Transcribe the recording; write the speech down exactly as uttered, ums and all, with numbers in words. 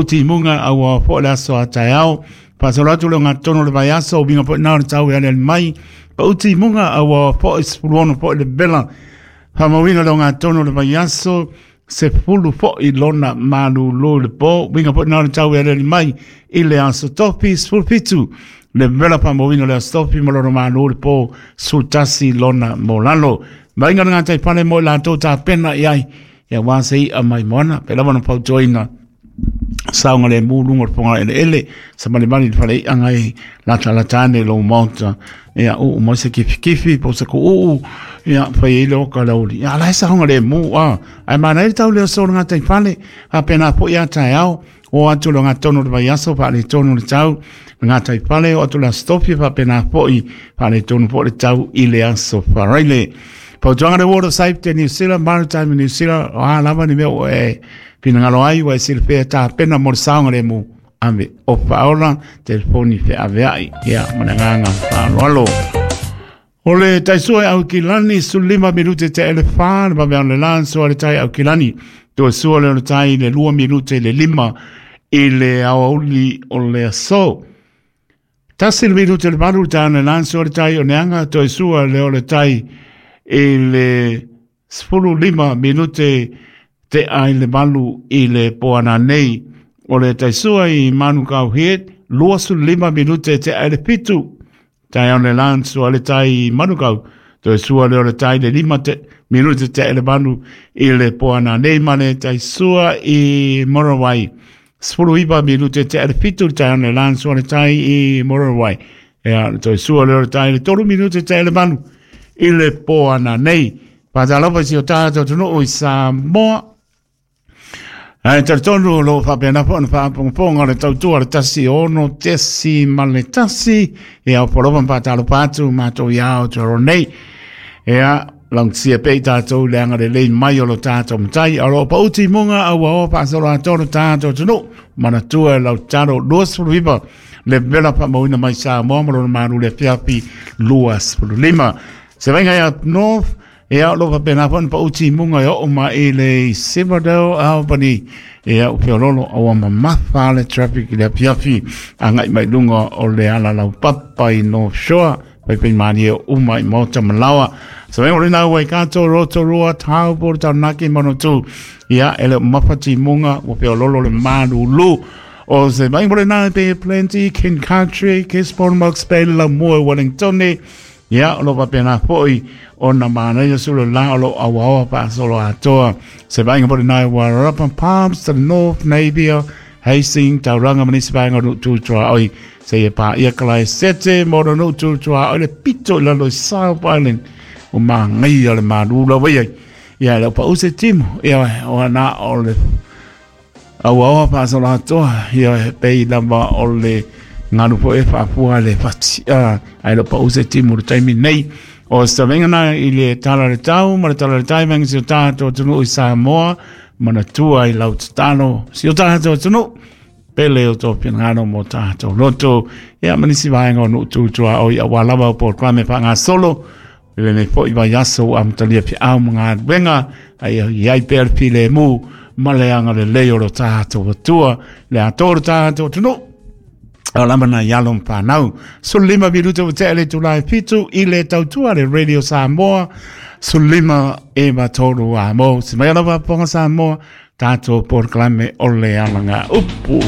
Timuga aua foʻi le aso a taeao faasolo atu le ogatotonu o le vaiaso uiga foʻi na o le tau e aliali mai pau timuga aua foʻi sefuluono foʻi le vela faamauina le ogatotonu o le vaiaso sefulu foʻi lona malūlū i le po uiga foʻi na o le tau e aliali mai i le aso tofi sefulufitu le vela faamauina le aso tofi ma lona malū i le po sefulutasi lona molalo maiga le gataifale mo i latou tapena i ai ia uā se iʻa mai moana pe lava na fautuaina saoga lemu luga o le foga eleele samalimali le faleiʻaga e latalata ane i lou maota ia uu mai se kifikifi po o se kuuu ia fai ai le oka le auli ia la e saoga lemu a ae manaia le tau le aso o le gataifale faapena foʻi a taeao o atu le ogatotonu o le vaiaso faaletonu le tau le gataifale o atu le aso tofi faapena foʻi faaletonu foʻi le tau i le aso faraile. Fautuaga le Water Safety New Zealand, Maritime New Zealand, o a lava ni mea ua e finagalo ai ua e silafia tapena mo le saogalemu ave o faaola telefoni feaveai ia ma le agaga faaaloalo. O le taisua e Aukilani sefululima minute te ele fa le vaveao le lanso a le tai Aukilani toe sua le o le tai le lua minute le lima i le aoauli o le aso. Tasi le minute le valu le tai le lanso a le tai o Neaga toe sua le o le tai i le sefululima minute te ai le valu i le poana nei. O le taisua i Manukau Head, luasulima minute te ai le fitu. Tai au le lanso a le tai i Manukau, toe sua le o le tai le lima te, minute te ai le valu i le poana nei ma le taisua i Morawai. Sefuluiva minute te ai le fitu le tai au le lanso a le tai i Morawai. Ea, toe sua le o le tai le tolu minute te ai le valu i le poana nei. Faatalofa i si o tatou atunuu i Samoa. Ae talitonu o lo o faapena foi ona faafogafoga le tautua le tasi ono tesi ma le tasi. Ia o polofa ma faatalofa atu matou iā Aotearoa nei. Ia, laugatia pea i tatou le agalelei mai o lo tatou matai. O lo o pau timuga a ua oa faasolo atoa lo tatou atunuu. Manatua e lau tatalo luasefuluiva le vela faamauina mai Samoa ma lona malu le afiafi luasefululima. Se vaiga ia North, ia o lo faapena foi ona pau timuga e oo mai i le Silverdale Albany. Ia o feololo aua mamafa le traffic i le afiafi agai mai luga o le ala laupapa i North Shore. Paipai malie o uma i maota malaoa. Se vaiga o lena ua i Kato, Rotorua, Taupo, Taranaki, Manatū. Ia e le o mafa timuga ua feololo le malulu. O se vaiga o lena e Bay Plenty, King Country, Gisborne, Hawke's Bay, Laumua, Wellington. Ia, o lo faapena foʻi ona manaia sulu la o lo auaoa faasolo atoa. Se vaaiga foi lenā i Wairarapa, Palmerston North, Napier, Hastings, Tauranga ma nisi vaega o nuu tu tuaoi. Seia paia Kalaesete ma ona nuu tu tuaoi le pito i lalo i South Island o magaia le malu lava ia. Ia, e le o pau se timu. Ia, o ana o le auaoa faasolo atoa. Ia, e pei lava o le galu foi e faafua le fati ae le o pau se timu le taimi nei. O se tavenga na i le tala le tau ma le tala le tai venga si o tatou atunuu i Samoa manatua i lau tatalo si o tatou atunuu pele o tō finagalo mo tatou loto ia ma nisi vaega o nuu tutua oi auā lava o polokalame faagasolo i lenei foʻi vaiaso ua amatalia feau ma galuega ai i ai pea le filemu ma le agalelei o lo tatou Atua le atoa o lo tatou atunuu. O lama na ialo ma whanau. Sulima minute o te ele tulai fitu i le tautua le Radio Samoa. Sulima e matoro a mo. Se mai alava ponga Samoa, tātou polokalame o le alanga upu.